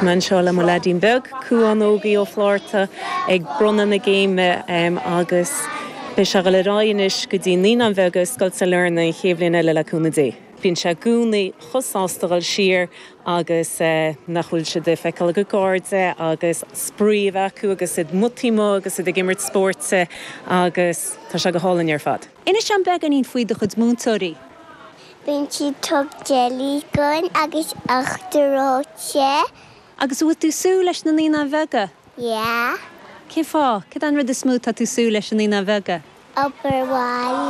Tá mé anseo le mo leaidín beag, Cuán Ógie Ó Flátharta, ag bronnadh na gcéime agus beidh sé ag dul ar aghaidh anois go dtí Naíonáin Bheaga i Scoil Sailearna an chéad bhliain eile le cúnamh Dé. Bíonn sé i gcónaí chomh sásta dhul siar agus nach bhfuil siad ag feiceáil a gcuid cairde agus spraoi a bheith acu agus iad amuigh amuigh agus iad ag imirt spóirt agus tá sé go hálainn ar fad. Inis dom beagáinín faoi do chuid múinteoirí. Bíonn siad tug jelly dhúinn agus uachtar reoite. Agus an bhfuil tú súil leis na Naíonáin Bheaga? Yeah. Cén fáth? Céard é an rud is mó atá tú súil leis i Naíonáin Bheaga? Obair bhaile.